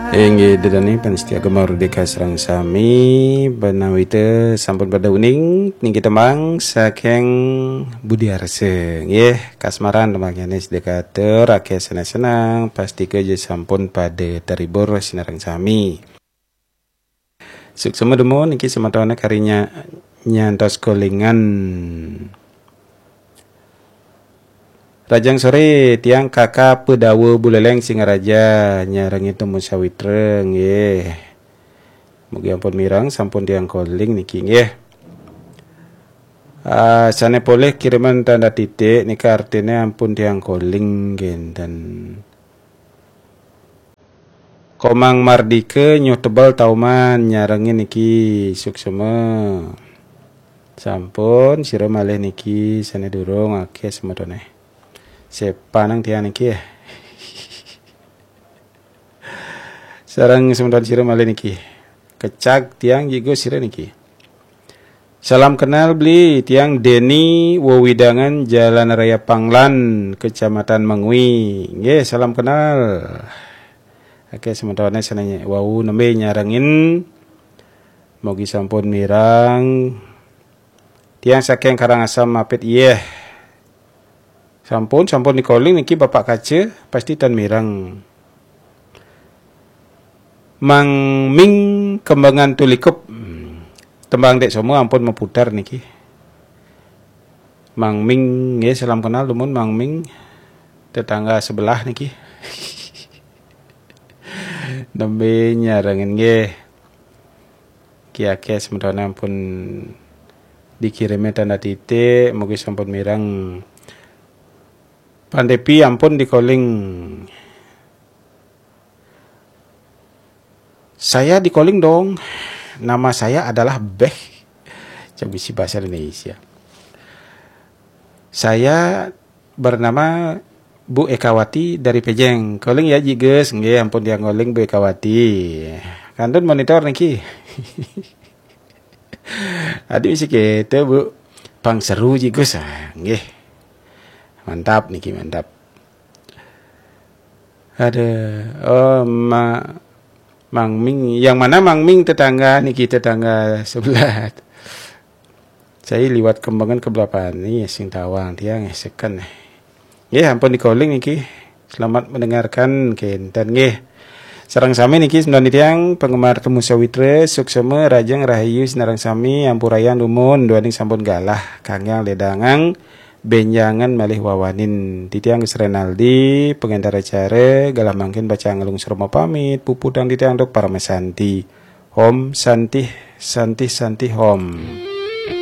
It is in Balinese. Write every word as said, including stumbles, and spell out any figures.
Inggih, ida dané pamiarsa Gema Merdeka sareng sami, ménawi sampun pada uning niki tembang saking Budi Arsa. Nggih, kasmaran tembangnyané sedekatur, akéh seneng-seneng, pastika sampun pada terhibur sinareng sami. Suksma dumun niki semetoné kari nya-, nyantos kolingan. Rahajeng soré, tiang Kaka Pedawa Buleleng Singaraja nyarengin Temu Sawitra nggih. Mugi ampun mireng, sampun tiang koling niki nggih. Ah, sané polih kiriman tanda titik nika artiné ampun tiang koling nggih enten. Komang Mardika Nyuh Tebel Tauman nyarengin niki, suksma. Sampun, sira malih niki sané durung akéh semetoné. Sepanang tiang niki ya. Sareng semeton sira malih niki. Kecag tiang jigo sira niki. Salam kenal beli, tiang Deni, wewidangan Jalan Raya Panglan, Kecamatan Mengwi. Nggih, salam kenal. Akéh semetoné sané wau nembé nyarengin. Mugi sampun mireng. Tiang saking Karangasem Mapit, iyeh. Sampun, sampun dikoling niki Bapak Kaca, pasti tan mireng. Mang Ming Kembangan Tulikup. Hmm. Tembang Dék Soma ampun maputar niki. Mang Ming, nggih, salam kenal dumun Mang Ming. Tetangga sebelah niki. Nembé nyarengin nggih. Ki akéh semetoné ampun dikirimi tanda titik, mugi sampun mireng. Pandepi ampun dikoling. Saya dikoling dong. Nama saya adalah Beh. Cek bisi bahasa Indonesia. Saya bernama Bu Ekawati dari Pejeng. Koling ya, Ji Gus. Nggih, ampun tiang koling Bu Ekawati. Kantun monitor niki. Adi misi kita, Bu. Pang seru, Ji Gus. Ah, nggih. Mantap niki, mantap. Ada, oh, Ma-, Mang Ming. Yang mana Mang Ming? Tetangga niki, tetangga sebelah. Saya liwat Kembangan ke Belapani, sing tawang tiang, eh, seken, eh. Nggih, ampun dikoling niki. Selamat mendengarkan, kénten nggih. Sareng sami niki semeton tiang penggemar Temu Sawitra, suksma, rahajeng, rahayu sinareng sami, ampurayang dumun, duaning sampun galah, kanggang ledangang, bénjangan malih wawanin. Titiang Gus Renaldi, pengantar acara, galah mangkin pacang nglungsur mapamit, puputang titiang antuk paramasanti. Om Santih, Santih, Santih Om.